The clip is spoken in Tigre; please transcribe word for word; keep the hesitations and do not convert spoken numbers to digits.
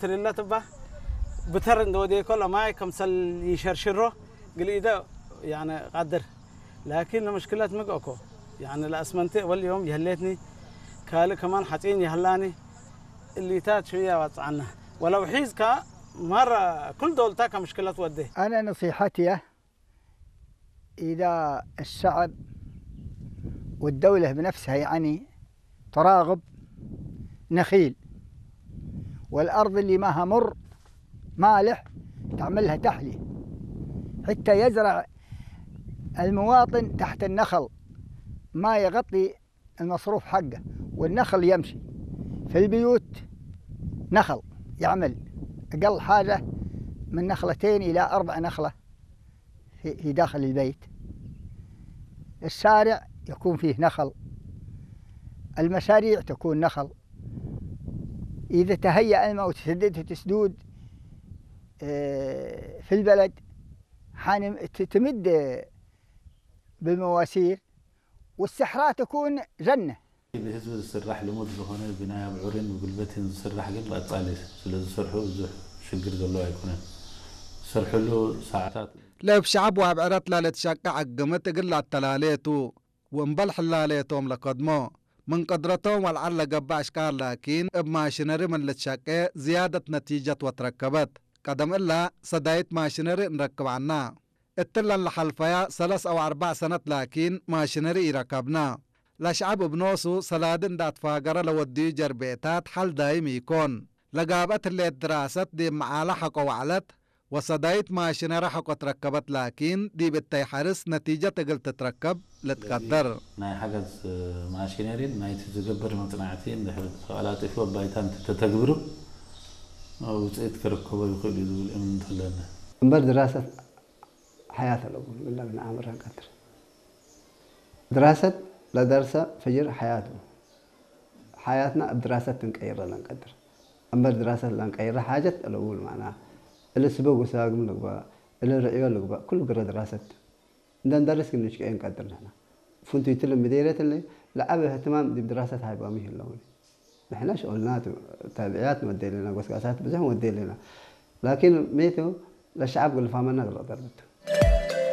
ትርለት እባ ብተር እንደ ወዴኮ ለማይ ከምሰል ይሸርሽሮ ግልኢደ ያነ ቀድር። ላኪን ለምሽክለት ምግእኮ ያነ ለአስመንቴ ወል ዮም የህሌትኒ ካልእ ከማን ሐጺን የህላኒ እሊታት ሽያ ዋጽዓና ወለው ሒዝካ ማራ ኩል ዶልታ ከምሽክለት ወዴ። أنا نصيحتي إذا الشعب والدولة بنفسها، يعني، تراغب نخيل، والأرض اللي ماها مر مالح تعملها تحلية، حتى يزرع المواطن تحت النخل، ما يغطي المصروف حقه، والنخل يمشي في البيوت، نخل يعمل أقل حاجة من نخلتين إلى أربع نخلة في، في داخل البيت. الشارع يكون فيه نخل، المشاريع تكون نخل. إذا تهيأ الماء وتسدد تسدود، آه، في البلد، حان ت-، تمد بالمواسير، والصحراء تكون جنة. ብህዝብ ዝስራሕ ልሙድ ዝኾነ ብናይ ኣብዑርን ብጉልበትን ዝስራሕ ግን ቀጻሊ ስለ ዝሰርሑ ብዙሕ ሽግር ዘሎ ኣይኮነን። ዝሰርሕሉ ሰዓታት ለእብ ሸዐብ ወእብ ዕረት ለልትሸቄ ዐግምት እግል ለአተላሌ ቱ፣ ወእምበል ሕላሌቶም ለከድሞ። ምን ቅድረቶም ወልዓል ለገብእ አሽቃር ላኪን እብ ማሽነሪ ምን ልትሸቄ ዝያደት ነቲጀት ወትረከበት። ቀደም እላ ሰዳይት ማሽነሪ እንረክብ ዐና። እትለን ለሐልፈያ ሰለስ አው አርበዕ ሰነት ላኪን ማሽነሪ ኢረከብነ። ለሸዐብ እብ ኖሱ ሰላዲ እንዴ አትፋገረ ለወድዩ ጀርቤታት ሐል ዳይም ኢኮን። ለጋብአት ህሌት ድራሰት ዲብ መዓለ ሐቆ ወዐለት ወሰዳይት ማሽነሪ ሐቆ ትረከበት ላኪን ዲብ እተይ ሐርስ ነቲጀት እግል ትትረከብ ልትቀደር። ናይ ሐገዝ ማሽነሪን ናይቲ ዝግበር መጽናዕቲ እንድሕር ተቀላጢፉ እብ ባይታ እንተ ተተግብሩ ውጽኢት ክርከቦ ይክእል እዩ ዝብል እምነት አለኒ። እምበር ድራሰት ሐያት አለቡ እለ ብንአምር ለንቀድር። ድራሰት ለደርሰ ፈጅር ሐያት ቡ። ሐያትና እብ ድራሰት እንቀይረ ለንቀድር። እምበር ድራሰት ለንቀይረ ሓጀት አለቡ ማና። እሊ ስበብ ወሳግም ልግበእ፣ እሊ ርዕዮ ልግበእ፣ ኩሉ ግረ ድራሰት። እንደ እንደርስ ግን ንሽቀ እንቀድር ንሕና። ፍንቱይቱ ለምዴርየት እሊ ለዐበ እህትማም ዲብ ድራሰት ሃይባሙ ይህለውኒ። ንሕና ሸኦልና ቱ፣ ታብዕያት ንወዴ ለና፣ ጎስጋሳት ብዙሕ ንወዴ ለና። ላኪን ሜቱ ለሸዐብ ግልፋመና ግልቅ ደርብቱ።